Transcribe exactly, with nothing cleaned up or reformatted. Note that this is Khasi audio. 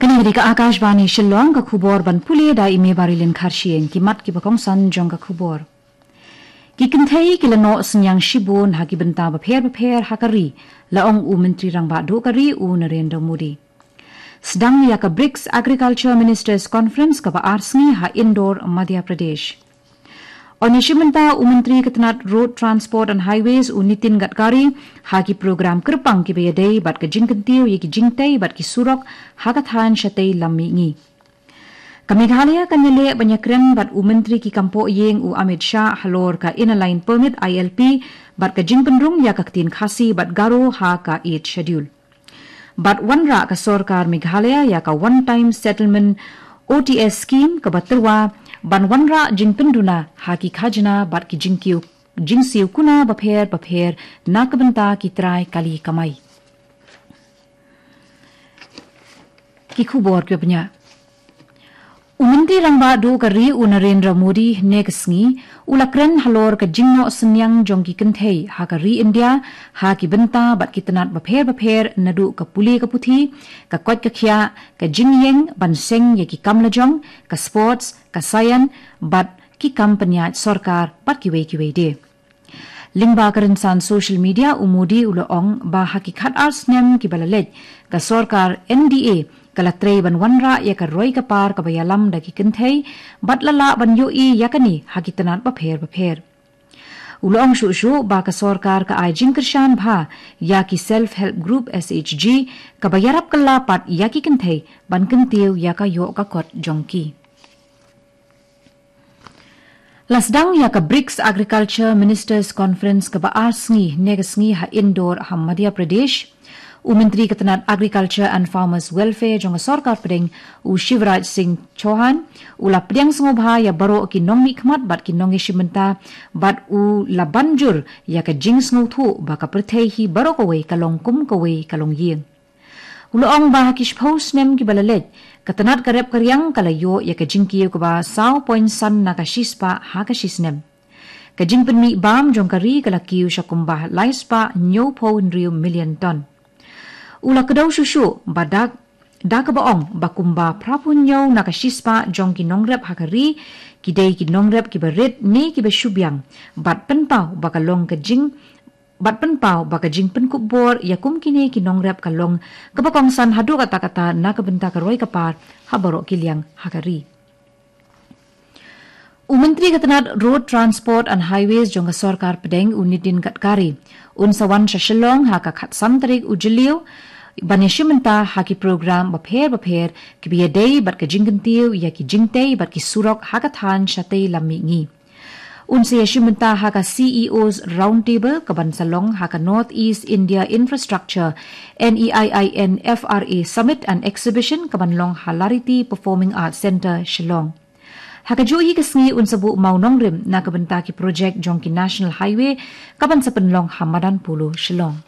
Kane ka dei ka Akashvani Shillong, ka khubor ban pule da i Mebarilin Kharshiing. Ki mat kiba kongsan jong ka khubor. Ki kynthei ki la noh synñiang shibun ha ki bynta bapher bapher ha ka ri, la ong u Myntri Rangbah Duh ka ri u Narendra Modi. Sdang ïa ka BRICS Agriculture Ministers Conference kaba ar sngi ha Indore, Madhya Pradesh. Yn ïashim bynta u Myntri ka tnat Road Transport and Highways u Nitin Gadkari ha ki program kyrpang kiba ïadei bad ka jingkyntiew ïa ki jingtei bad ki surok ha ka thaiñ shatei lam mihngi. Ka Meghalaya kan ïaleh ban ïakren bad u Myntri ki kam poh ïing u Amit Shah halor ka Inner Line Permit, I L P, bad ka jingpynrung ïa ka ktien Khasi bad Garo ha ka Eighth Schedule. Bad wanrah ka sorkar Meghalaya ïa ka One Time Settlement, O T S, scheme kaba tyrwa ban wanrah jingpynduna ha ki khajna bad ki jingkiew, jingsiew kuna bapher bapher na ka bynta ki trai kali kamai. Ki khubor kiba bniah. U Myntri Rangbah Duh ka ri u Narendra Modi hynne ka sngi u la kren halor ka jingnoh synñiang jong ki kynthei ha ka ri India ha ki bynta bad ki tnat bapher bapher, naduh ka pule ka puthi, ka koit ka khiah, ka jingïeng ban seng ïa ki kam lajong, ka sports, ka science bad ki kam pynïaid sorkar bad kiwei kiwei de. Lyngba ka rynsan social media, u Modi u la ong ba ha ki khat ar snem kiba la leit, ka sorkar N D A ka la trei ban wanrah ïa ka roi ka par kaba ïalam da ki kynthei bad la lah ban ïohi ïa kane ha ki tnat bapher bapher. U la ong shuh shuh ba ka sorkar ka ai jingkyrshan bha ïa ki Self Help Group, S H G, kaba ïarap kylla pat ïa ki kynthei ban kyntiew ïa ka ïoh ka kot jong ki. La sdang ïa ka BRICS Agriculture Ministers Conference kaba ar sngi hynne ka sngi ha Indore ha Madhya Pradesh. U Myntri ka tnat Agriculture and Farmers Welfare jong ka sorkar pdeng, u Shivraj Singh Chouhan, u la pdiang sngewbha ïa baroh ki nongmihkhmat bad ki nongïashim bynta bad u la ban jur ïa ka jingsngewthuh ba ka pyrthei hi baroh kawei ka long kum kawei ka longïing. U la ong ba ha ki shiphew snem kiba la leit, ka tnat ka rep ka riang ka la ïoh ïa ka jingkiew kaba saw point san na ka shispah ha ka shisnem. Ka jingpynmih bam jong ka ri ka la kiew sha kumba lai spah hynñiewphew hynriew million ton. U la kdew shuh shuh ba da, da kaba ong ba kumba phraphew hynñiew na ka shispah jong ki nongrep ha ka ri ki dei ki nongrep kiba rit ne kiba shu biang, bad pynpaw ba ka long ka jing bad pynpaw ba ka jingpynkup bor ïa kum kine ki nongrep ka long kaba kongsan haduh katta katta na ka bynta ka roi ka par ha baroh ki liang ha ka ri. U Myntri ka tnat Road Transport and Highways jong ka sorkar pdeng, u Nitin Gadkari, un sa wan sha Shillong ha ka khatsan tarik u Jylliew ban ïashim bynta ha ki program bapher bapher kiba ïadei bad ka jingkyntiew ïa ki jingtei bad ki surok ha ka thaiñ shatei lam mihngi. Un sa ïashim bynta ha ka C E Os Roundtable kaban sa long ha ka North East India Infrastructure, N E I I N F R A, Summit and Exhibition kaban long ha Lariti Performing Arts Centre, Shillong. Ha kajuh hi ka sngi un sa buh mawnongrim na ka bynta ki projek jong ki National Highway kaban sa pynlong ha Madan Polo, Shillong.